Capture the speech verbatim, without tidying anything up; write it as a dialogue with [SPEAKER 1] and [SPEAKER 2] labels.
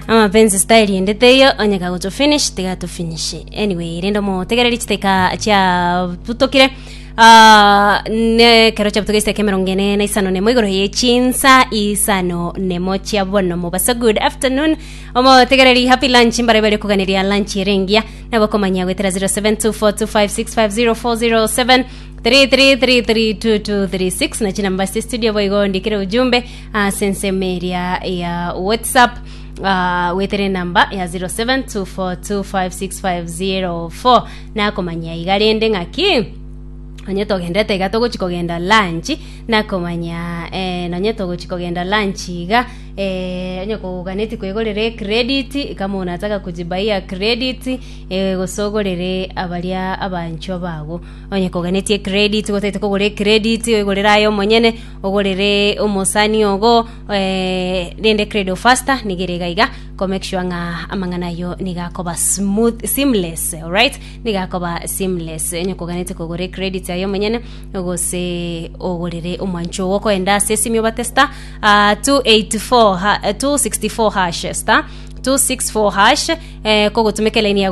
[SPEAKER 1] Amapenzi style ende teiyo, onye kagoto finish tiga to finish. Anyway, rende motegereri, chiteka chia butokire. Ah, ne kero chabutogeiste emerongo ene na isano nemo igoro ye chinsa isano nemo chia bono mobasa. Good afternoon, omotegereri, happy lunch. Mbare bari kuganiria lunch erengia nabo komanya gwetera zero seven two four two five six five zero four zero seven three three three three two two three six na chinamba cia studio. Boigo ndikire ujumbe ase ensemo eria ya WhatsApp, uh, wetere namba ya zero seven two four two five six five zero four. Nakomanya iga rende ng'aki onye togendete iga togochi kogenda lunch, nakomanya eh, nonye togochi kogenda lunch iga, eh, onye koganeti kwegorera ecredit, kama unataka kujibaia credit, eh, gose ogorere abaria abanchwa bago. Onye koganeti ecredit, gotete kogora ecredit, oigorere aye omonyene, ogorere omosani ogo, eh, rende Credo Faster nigere iga iga ko make sure ng'a amang'ana ayo nigakoba smooth, seamless. Alright, nigakoba seamless. Onye koganete kogora ecredit aye omonyene gose ogorere omwancho ogo, koenda ase esimi obate star uh, two eighty-four ha, uh, two sixty-four hash, star two six four hash, eh, kogotumeka line ya